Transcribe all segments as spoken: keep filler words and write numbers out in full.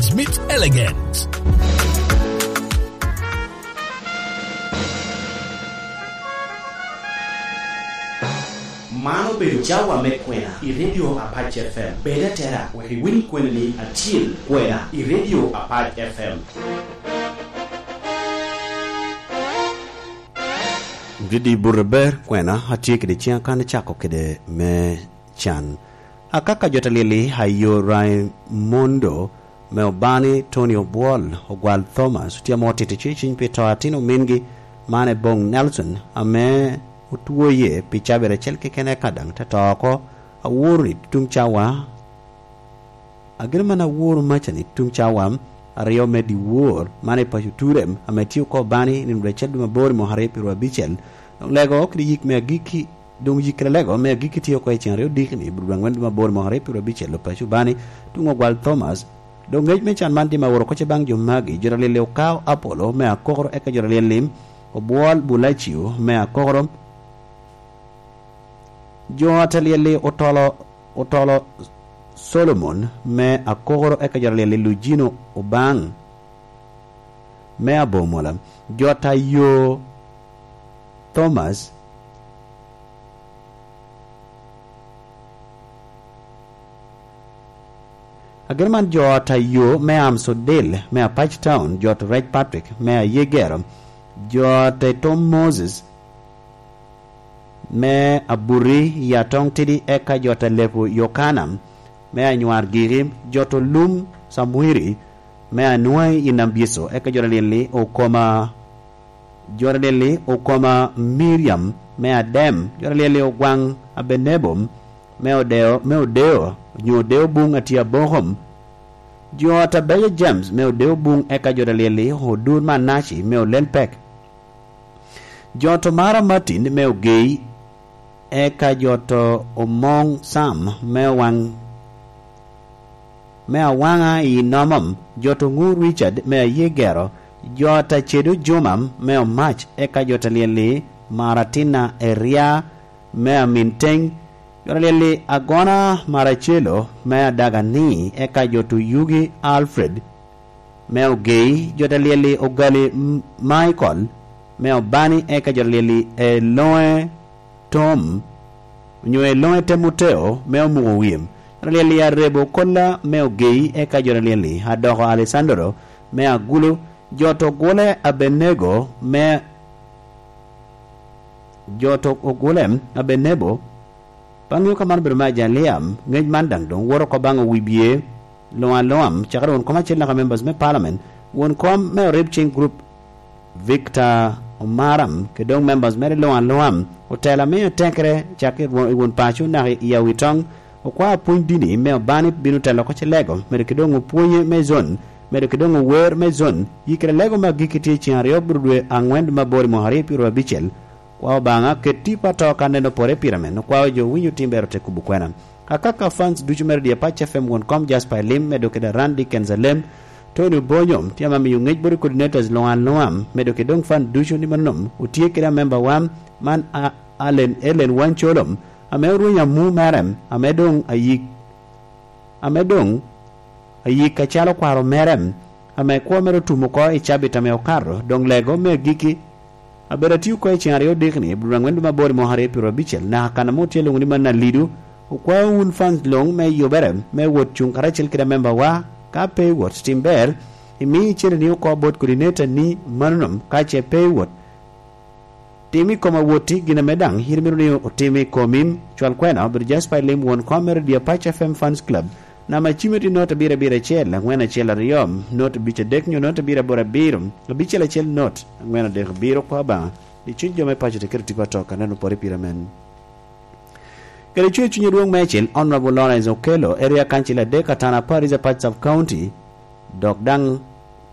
Smith Elegant. Man obedo cawa me kwena i Radio Apac F M. Bed atera wek iwiny kwena ni atyel kwena i Radio Apac F M. Didi buto ber kwena, atye kede ciŋa kan icako kede me can. Akaka jo ta lyel-li ayo Raimondo me Obani, Tony Obwol, Ogwal Thomas, otye amo tito cuciny pi to atin omingi, man Ebong Nelson, ame otwoye pi cabit acel keken eka daŋ te to oko. Aworo i tuŋ cawa, ageno man aworo maca ni tuŋ cawa aryo me dyewor, man i paco Turem, ame tye oko Obani i nino acel dwe mabor i mwaka aryo pyeru abicel. Doŋ lego kede yik me agikki Doŋ yik kede lego me agikki tye oko i cen aryo diki ni, Budwang wen dwe mabor mwaka aryo pyeru abicel, Opaco Bani, tuŋ Ogwal Thomas. Doŋ ngec me can man dim aworo koce baŋ jo magi, jo ta lyel-li Okao Apollo me Akokoro, eka jo ta lyel-li Obwol Bulacio me Akokoro, jo ta lyel-li Otolo, Otolo Solomon me Akokoro, eka jo ta lyel-li Lujino Obaŋ me Abomola, jo ta yo Thomas. Ageno man jo ta yo me Amsodil me Apac Town, jo ta Rec Patrick me Ayegero, jo ta Tom Moses me Abuti i Atoŋ Tidi, eka jo ta Lepo Yokana me Anywar Gigi, jo ta Lum Samwiri me Anwai i Nambyeco, eka jo ta lyel-li Okoma, jo ta lyel-li Okoma Miriam me Adem, jo ta lyel-li Ogwaŋ Abenebo me Odeo, me Odeo, onyo Odeo Buŋ Atye Abokom, jo ta Beja James me Odeo Buŋ, eka jo ta lyel-li Odur Manaci me Olel Pek. Jo ta Mara Martin me Ogei, eka jo ta Omoŋ Sam me Owaŋ, me Awaŋa i Nomom, jo ta Oŋu Richard me Ayegero, jo ta Cedo Juma me Omac, eka jo ta lyel-li Maratina Eria me Aminteng, jo ta lyel-li Agona Maracelo me Adagani, eka jo ta Oyugi Alfred me Ogei, jo ta lyel-li Ogali M-, Michael me Obani, eka jo ta lyel-li Eloŋe Tom, onyo Eloŋe Temoteo me Omuko Wim, jo ta lyel-li Arebo Kola me Ogei, eka jo ta lyel-li Adoko Alessandro me Agulu, jo ta Ogule Abenego me, jo ta Ogule Abenebo, Baŋ yo ka man obedo me ajaliam, ŋec man daŋ doŋ woto oko baŋ owibye, Luŋ Aluŋam, cakere won kom acel naka members me parliament, won kom me Orib Cing Group, Victor Omaram, kede doŋ members mere Luŋ Aluŋam, otelo ame atekere, cakere i wo-, i won paco naka i Awitoŋ, okwao apwony dini me Obani bino telo oko ce lego, medo kede doŋ opwonye me zon, medo kede doŋ ower me zon, yikere lego me agikki tye i cen aryo buru dwe aŋwen dwe me aboro i mwaka aryo pyeru abicel, Kwa Obaŋa, ket tipo ato ka neno pore pire men, okwao jo winyo tim ber ote kubo kwena. Akaka fans ducu me Radio Apac F M won kom Jasper Elim, medo kede Randy Kenzalem, Tony Obonyo, tye ame miyo ŋec bot coordinators luŋ aluŋa, medo kede doŋ fan ducu ni mannom, otye kede amemba wa, man a, Allen Ellen Wancolom, ame orwenyo amu mere, ame doŋ ayik ame doŋ ayik acalo kwaro mere, ame kwo mere otum oko i cabit ame okato, doŋ lego me agikki. Abedo atio oko i cen aryo odikni, i bur aŋwen dwe me aboro i mwaka aryo pyeru abicel, naka kan ame otye lwoŋo ni man Alidu, okwao wun fans luŋ me yubere, me wot cuŋ karacel kede amemba wa, ka pe iwot tim ber, imi icene ni oko bot coordinator ni manonom, ka ce pe iwot, Tim i kom awotti gin ame daŋ yin imito ni otim i komi. Cwal kwena obedo Jasper Elim, won kom me Radio Apac F M Fans Club. Namba cime tye not abiro abiro acel, aŋwen acel aryo, not abic adek nyo not abiro aboro abiro, abicel acel not, aŋwen adek abiro, kwa Obaŋa. Ni cuny jo me paco tekero tipo atok, aneno pore pire men. Kede cwer cuny adwoŋ meicel, Honorable Lawrence Okello, Area Council adek, Atana Parish, Apac Sub County, dok daŋ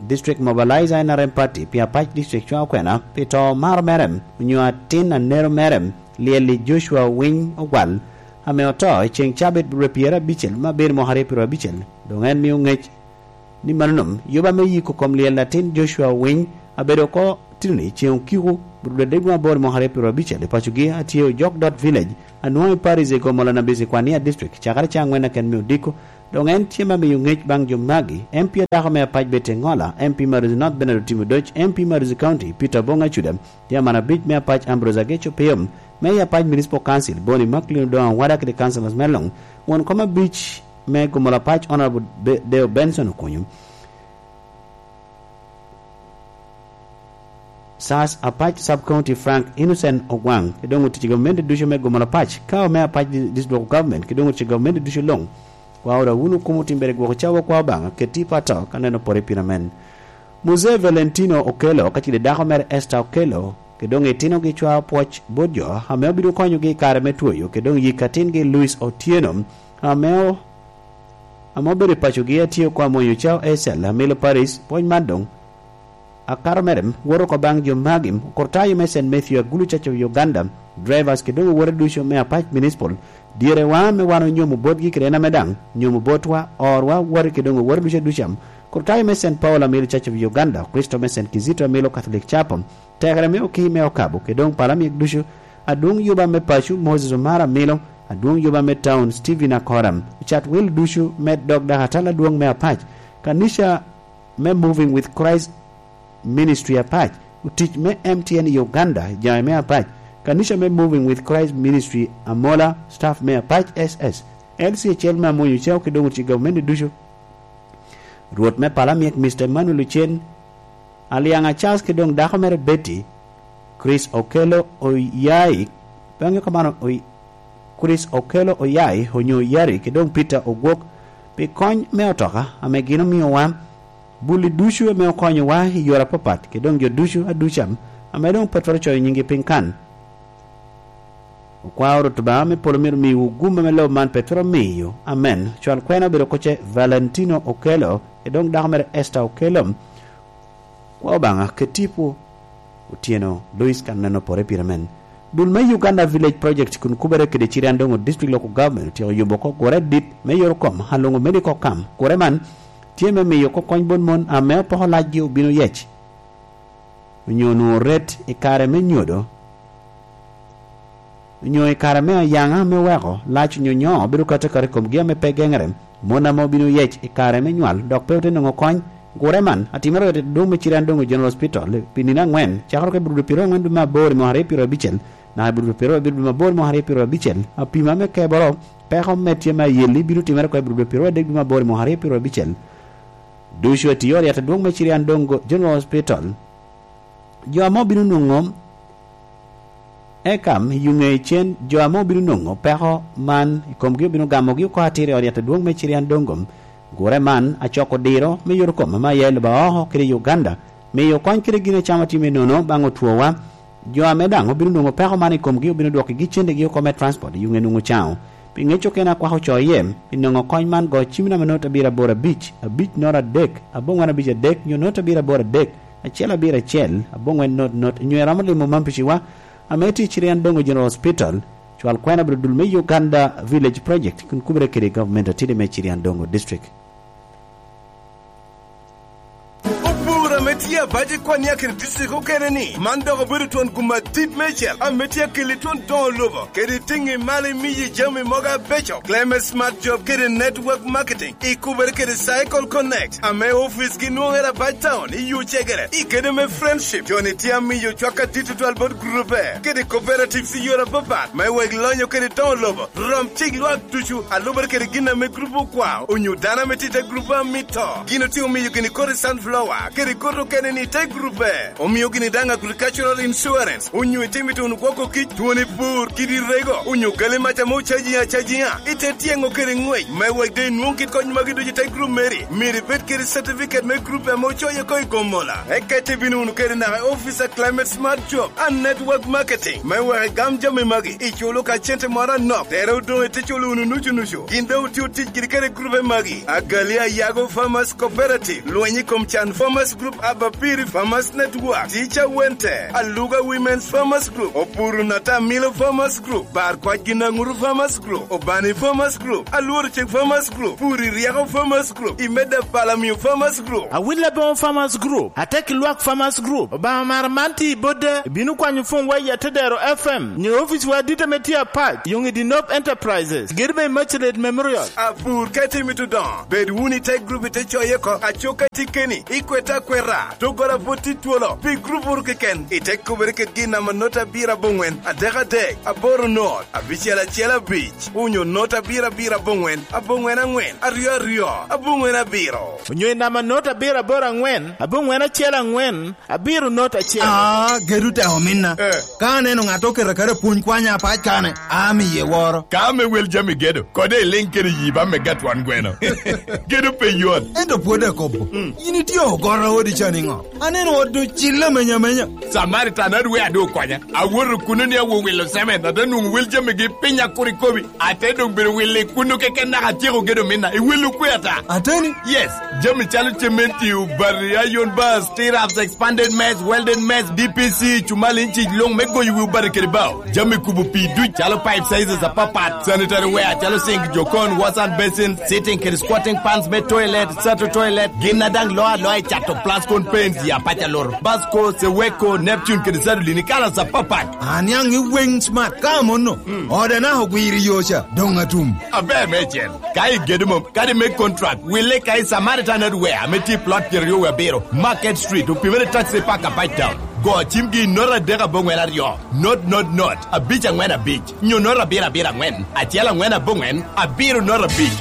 District Mobilizer N R M Party pi Apac District cwaŋ okwena pi to maro mere, onyo atin anero mere, lyel-li Joshua Winy Ogwal, ame oto i ceŋ cabit rwe pyer abicel me abiro mwaka aryo pyeru abicel, doŋ en mio ŋec ni manonom, yuba me yiko kom lyel atin Joshua Winy abedo oko titini ceŋ okiko, rwe adek dwe aboro mwaka aryo pyeru abicel i pacogi, atye Ojok Dot Village, anwoŋo i Paris i Gomola Nabisi Kwania District, cakere ca aŋwen aken me odiko, Doŋ en tye me miyo ŋec baŋ jo magi: M P a dako me Apac Betty Engola, M P Marozi North Bernard Otimo Odoc, M P Marozi County Peter Obong Acuda, Chairman abic me Apac Ambrose Ageco Piyom, Mayor Apac Municipal Council Bonny Macklin Odongo Awada kede councillors me luŋ, won kom abic me Gomolo Apac Honourable Be-, Deo Benson Okunyu, Sas Apac Sub County Frank Innocent Ogwaŋ, kede doŋ otic gamente ducu me Gomolo Apac, Kawo me Apac Di-, District Local Government, kede doŋ otic gamente ducu luŋ. Kwa ora wunu kumo timbere gwoko cawa kwa Obaŋa, keti pato ka neno pore pira men. Muzee Valentino Okello, ka cide dako mere Esther Okello, kede doŋ itinogi cwao pwoc bot jo ame obino konyogi i kare me twoyo, kede doŋ yik atingi Louis Otieno, ame o-, ame obedo i pacogi, atye oko amwonyo cao Ecel, amilo Paris, pwony man doŋ akato mere, woto oko baŋ jo magi: okurtayo me Saint Matthew Agulu Church of Uganda, drivers kede doŋ owote ducu me Apac Municipal, dyerewa me wan onyomo botgi kede en ame daŋ nyomo botwa, orwa, woti kede doŋ owote ducu aduca, okurtayo me Saint Paul amilo Church of Uganda, Kristo me Saint Kizito amilo Catholic Chapel, tekere me Okii me Okabo, kede doŋ pala myek ducu, adwoŋ yuba me paco Moses Omara amilo, adwoŋ yuba me town Stephen Akora, ocat wil ducu me dog dakatal adwoŋ me Apac, kanica me Moving with Christ Ministry Apac, otic me M T N Uganda, jami me Apac, kanica me Moving with Christ Ministry Amola, staff me Apac S S, L C acel me Amwonyo Cao kede doŋ otic gamente ducu, Rwot me pala myek Mister Emmanuel Ocen, Aliaŋa Charles kede doŋ dako mere Betty, Chris Okello Oyayi, bang'e kamano Oy-, Chris Okello Oyayi onyo Oyari kede doŋ Peter Ogwok pi kony me otoka ame gin omiowa, bulli ducu ame okonyowa i yore apapat, kede doŋ jo ducu aduca ame doŋ Petero ocoyo nyingi piny kan. Okwao Rwot Obaŋa me polo myero miwu gum ame lobo man pe twero miyo. Amen. Cwal kwena obedo kocce Valentino Okello, kede doŋ dako mere Esther Okello. Kwa Obaŋa, ket tipo Otieno Louis kan neno pore pire men. Dul me Uganda Village Project kun kubere kede Chiriandongo District Local Government otyeko yubo oko gure dit me yorokom, Alongo Medical Camp. Gure man tye me miyo oko kony bot mon ame opoko lacgi obino yec, onyo onwoŋo ret i kare me nyodo, onyo i kare me ayaŋa ame weko lac onyo nyo bedo kato akato i komgi ame pe geŋere. Mon ame obino yec i kare me nywal dok pe ote nwoŋo kony, gure man atimere i ot adwoŋ me Chiriandongo General Hospital pi nino aŋwen, cakere oko i Abril pyeraryo aŋwen dwe me aboro i mwaka aryo pyeraryo abicel, naka i Abril pyeraryo abiro dwe me aboro i mwaka aryo pyeraryo abicel. Apima me keboro peko me tye me ayelli bino timere oko i Abril pyeraryo adek dwe me aboro i mwaka aryo pyeraryo abicel. Ducu atiyo i ot yat adwoŋ me Chiriandongo General Hospital. Jo ame obino nwoŋo eka i ŋe cen, jo ame obino nwoŋo peko man i komgi obino gamogi oko atir i ot yat adwoŋ me Chiriandongo. Gure man acoko diro me yot kom ame aye i lobo aoko kede i Uganda, miyo kony kede gin acama tye me nono baŋ otwowa. Jo ame daŋ obino nwoŋo peko man i komgi obino dwokigi cendegi oko me transport i ŋe nwoŋo caŋo. Pi ŋec okene akwako co iye, pi nwoŋo kony man go cim namba note abiro aboro abic, abic note adek, aboŋwen abic adek, nyo note abiro aboro adek, acel abiro acel, aboŋwen note note, nyo iromo limo man piciwa, ame tye i Chiriandongo General Hospital, cwal kwena obedo dul me Uganda Village Project, kun kubere kede gavumenti atidi me Chiriandongo District. Opur ame tye abac i Kwania kede district okene ni, man dok obedo twon gum adit meicel ame tye akeli twon doŋo lobo kede tiŋi malo imiyi jami mogo abeco. Clement Smart Job kede Network Marketing ikubere kede Cycle Connect ame office gi nwoŋere abac town i Yucegere. I kede me Friendship, joni tye amiyo cwak adit tutwal bot grupe kede cooperatives i yore apapat me wek lonyo kede doŋo lobo. Rom cik lwak ducu a lubere kede gin ame grup okwao, onyo dano ame tye i te grup a mito. Gin otye omiyo gini kodi sunflower, kede kodi okene ni i te grupe. Omio gini daŋ agricultural insurance, onyo itimo ite wunu gwoko kic, twoni pur, kidi rego, onyo gali mac ame ocaji acajiŋa, ite tyeŋo kede ŋwec. Me wek doŋ inwoŋ kit kony magi ducu i te grup meri, myero ibed kede certificate me grup ame ocoyo oko i Gomola. Eka ite bino wunu kede naka i office a Climate Smart Job and Network Marketing. Me wek igam jami magi, iculo ka cente moro anok, tere odoŋ ite culo wunu nucu nucu. Gin doŋ otio tic giri kede grupe magi: Agali Ayago Farmers Cooperative, Lweny i kom Can Farmers Group Abapiri Farmers Network, Teacher Wente, Aluga Women's Farmers Group, Opuru Natamilo Farmers Group, Bar Kwac Ginanguru Farmers Group, Obani Farmers Group, Alworo Cik Farmers Group, Puri Rieko Farmers Group, Imeda Palamio Farmers Group. Awil Aboŋo Farmers Group, Atek Lwak Farmers Group, Obaŋa Mara man tye i Bodda, ibino kwanyo pwony wa i Atedero F M, nyo ofici wa adit ame tye apac, Yoŋ i Dinop Enterprises, gedo me Immaculate Memorial. Apur ka itimo i Tudoŋo, bed wunu i te gurup ite coye oko, aco ka tye keni, ikwete akweta, doggola pwod tye twolo, pi gurup wunu keken, ite kubere kedgi i namba not abiro aboŋwen, adek adek, aboro not, abicel acel abic, onyo not abiro abiro aboŋwen, aboŋwen aŋwen, aryo aryo, aboŋwen abiro. Onyo i namba not abiro aboro aŋwen, aboŋwen acel aŋwen, abiro not acel. Ah, gedo tek ominna. Eh. Ka aneno ŋat oketo akata pwony kwanya apac kane, amiye woro. Ka ame wel jami gedo, kode iliŋ kede yi ba mega twon gweno. Gedo pe yot. Ento pwod akobo, mm, in itye ogoro odi ca niŋo? Aneno ot doŋ cille amenya amenya. Samaritan adwe adu okonya. Awoto kuno ni awo wilo semen, ate nwoŋo wel jamigi piny akur ikobi. Ate doŋ bedo wille kuno keken naka atyeko gedo minna. Iwillo kwe ata? Ateni? Yes. Jami calo cementi, obati, iron bars, stirrups, expanded mess, welded mess, D P C, cumal inci luŋ me goyo wi obati kede bao. Jami kubo pii duc calo pipe sizes apapat, sanitary ware calo sink, jokon, wash and basin, sitting kede squatting pans me toilet, sato toilet, gin a daŋ loo aloa i cato Plascon paints ya paca loro, Basco, Seweko, Neptune kede Sadolin i kalas apapat. Aniaŋ i weng smart ka amono. Mm. Oda naka ogwiro i yo ca, doŋ atum. Aber meicel. Ka igedo mom, kadi me contract, wille ka i Samaritan Hardware ame tye i plot pyeraryo wie abiro, Market Street, opimere taxi park apac town. Go cimgi i not adek aboŋwen aryo, not, not, not, abic aŋwen abic, nyo not abiro abiro aŋwen, acel aŋwen aboŋwen, abiro not abic.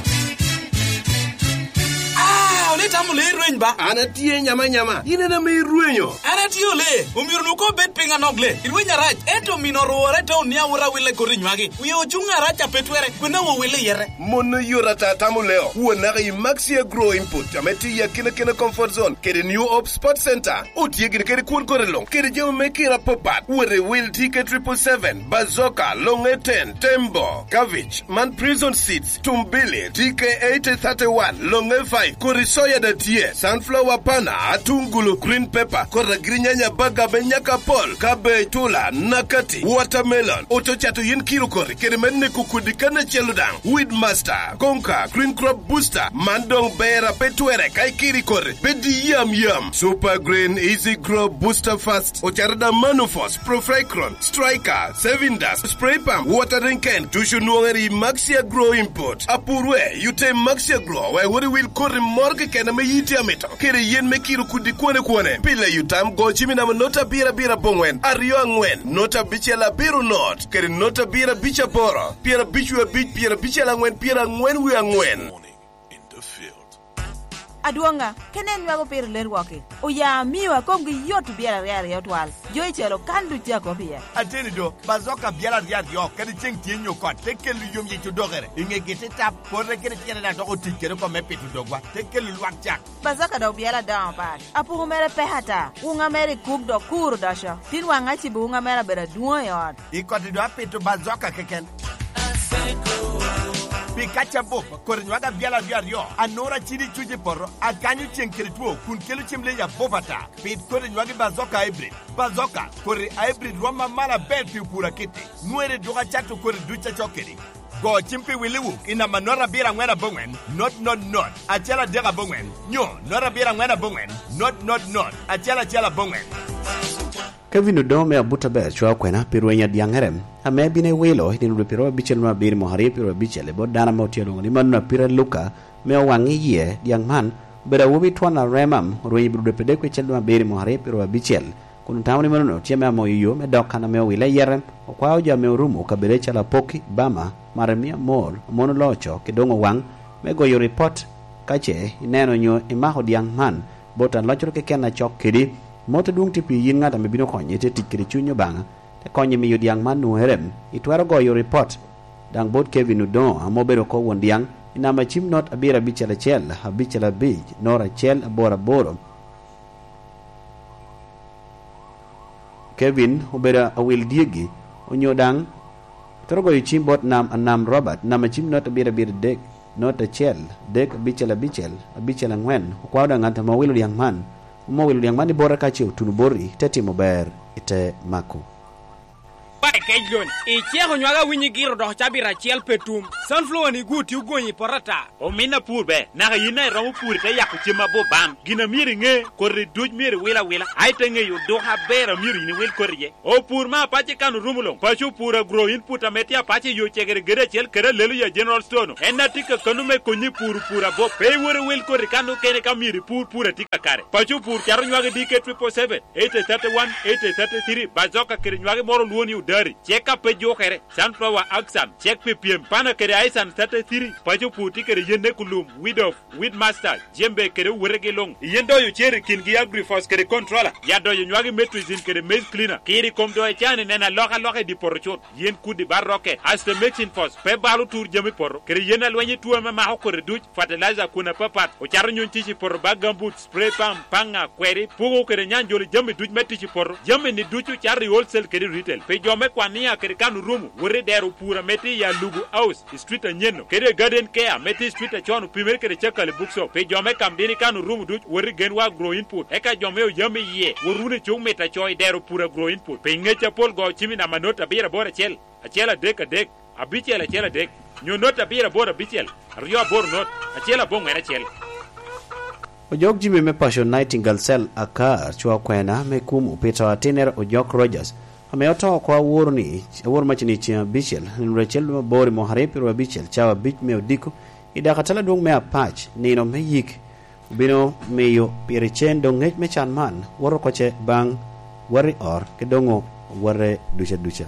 Ah, ole tamo le rweny ba? An atye nyama nyama, in en ame irwenyo. An atye ole, omyero nu ko bed piny anok le. Irweny arac, ento omino orwore te onia wot awille koti nywagi. Wie ocuŋ arac a pe twere, kwena wo wille yete. Mon oyot ata tamo leo, won naka i Maxia Grow Input, ame tye i akina kina comfort zone, kede New Hope Sports Center. Otye gin kede kwon kore luŋ, kede jami me kira apapat. Wot i wil T K triple seven, Bazoka, Longe ten, Tembo, Cabbage, man Prison Seeds, Tumbili, T K eighty thirty-one, Longe five, kodi soya da tye, sunflower pana, atungulu, green pepper, kodi agirinyanya, baga me nyaka pol, cabbage, tula, nakati, watermelon, oto cato yin kiro kori, kede me neko kodi kan acel daŋ. Weedmaster, Conquer, Green Crop Booster, man doŋ ber a pe twere ka ikiri kore, pe di yam yam. Super Green, Easy Grow, Booster Fast, ocaro da Manufos, Profricron, Striker, Saving Dust, Spray Pump, Watering Can, ducu nwoŋere i Maxia Grow Import. Apurwe, yute Maxia Grow, wek wot iwil koti moro keken ame yiti amito, kede yen me kiro kudi kwane kwane. Pile yutam go cimi namba not abiro abiro aboŋwen, aryo aŋwen, not abicel abiro not, kede not abiro abic aboro, pyerabic wie abic, pyerabicel aŋwen, pyeraŋwen wie aŋwen. Adwoŋa, kene en nywako piro lerwoki. Oya amio akomgi yot obyelo aryo aryo twal. Jo i celo kan duc a kop iye. Ateni do, bazoka byelo aryo aryo, kadi ceŋ tye nyo kot, te kelo yom yic odokere. I ŋegi te tap, pote kede tyene daŋ dok otic kede oko me pito dogwa, te kelo lwak cak. Bazoka dok byelo adoŋo pat. Apuku mere pek ata. Wuŋa mere i kuk dok kur odoco. Tin waŋ acibo wuŋa mere abedo adwoŋ i ot. I koti do apito bazoka keken. Pi kac abup, koti nywagi abyel aryo aryo, anura cidi cuc i poto, akanyo ceŋ kede two, kun kelo cem leyi abup ata. Pit koti nywagi bazoka hybrid. Bazoka, koti hybrid rwom amalo aber pi opur akiti. Nwere duk acato koti duc acok kedi. Go cim pi Willi Wuk i namba not abiro aŋwen aboŋwen, not not not, acel adek aboŋwen, nyo not abiro aŋwen aboŋwen, not not not, acel acel aboŋwen. Kevin Odoŋo me Abuta ber cwa okwena pi rweny adyaŋere ame bino ewilo i nino dwe pyeraryo abicel me abiro mwaka aryo pyeraryo abicel i bot dano ame otye alwoŋo ni Manuna Pira Luka, me owaŋ i yie dyaŋ man. Obedo awobi twon arema, orwenyo i bot dwe pyeraryo abicel me abiro mwaka aryo pyeraryo abicel, kun otamo ni meno tye me amoyo yo me dok kan ame owile i yere. Okwao jo ame orumo kabedde calo Apoki, Bama, Maremia Mor, Amono Loco, ki Doŋo Waŋ me goyo ripot ka ce ineno nyo imako dyaŋ man bot aloccoro keken acok kedi. Mot adwoŋ tye pi yin ŋat ame bino konye te tic kede cuny Obaŋa, te konye miyo dyaŋ man nwoŋere. Itwero goyo ripot daŋ bot Kevin Odoŋo ame obedo oko won dyaŋ i namba cim not abiro abicel acel, abicel abic, not acel aboro aboro. Kevin obedo awil dyegi, onyo daŋ itwero goyo cim bot Nam Anam Robert, namba cim not abiro abiro adek, not acel, adek abicel abicel, abicel aŋwen. Okwao daŋ ŋat ame owilo dyaŋ man, Omo wilo niaŋ man i bota ka ce otuno boti, te timo ber, ite mako. Ba i kec lon, iceko nywage awinyi giro dok cabit acel pe tum. Sunflower ni gwo tye ogonyi i poto ata. Omin apur be, naka yin a iromo pur ite yako cem abo bam. Gin a myero iŋe, koti duc myero iwil awila, a ite ŋeyo odoko aber a myero yin iwil koti iye. Opur ma apac ikano rumo loŋ, paco opur agro input ame tye apac i yo cegere gede acel kede alelo ya General Store-nu. En a tye kakano me konyi pur pur abo, pe iwor iwil koti kan okene ka myero ipur pur a tye kakare. Paco opur cato nywage D K triple seven, eighty thirty-one, eighty thirty-three, bazoka kede nywage moro olwo ni odari, cek a pe jukere, sunflower axan, cek pi pyem, pana kede aisan thirty-three, paco opur tye kede yen ne kulum, weed of, weed master, jembe kede owotegi luŋ. Yen doyo cer i kingi agrifos kede controller, ya doyo nywage metrizin kede maize cleaner, kiri kom doyo cani neno alokaloka i di poto cut. Yen kudi ba rokke, aste mixing force, pe balo tur jami poto, kede yen alweny i tuo ame mako kodi duc, fertilizer kun apapat, ocato nyuny tic i poto ba gambut, spray pump, paŋa, kweri, puko kede nyanjoli jami duc me tic i poto, jami ni ducu cato i wholesale kede retail. Pi jo me kwan nia kede kan orumo, wot i dero pur ame tye i Alugu House, i street anyen-nu, kede Garden Care ame tye i street acon opimere kede Cakali Bookshop. Pi jo me kam dini kan orumo duc, wot i Genwa Agro Input, eka jo me oyam i yie, wot wunu i cuk mit aco i dero pur Agro Input. Pi ngec apol go cimi namba not abiro aboro acel, acel adek adek, abicel acel adek, nyo not abiro aboro abicel, aryo aboro not, acel aboŋwen acel. Ojok jimi me paco Nightingale Cell Akar, cwa kwena me kum opito atinere Ojok Rogers, ame oto oko aworo ni, aworo mac ni ceŋ abicel, nino acel dwe aboro i mwaka aryo pyeraryo abicel, cawa abic me odiko, i daka tala dwong me apac, nino me yik, obino miyo pire cen doŋ ngec me can man, woto oko ce baŋ, wati or, ki doŋo wate duca duca.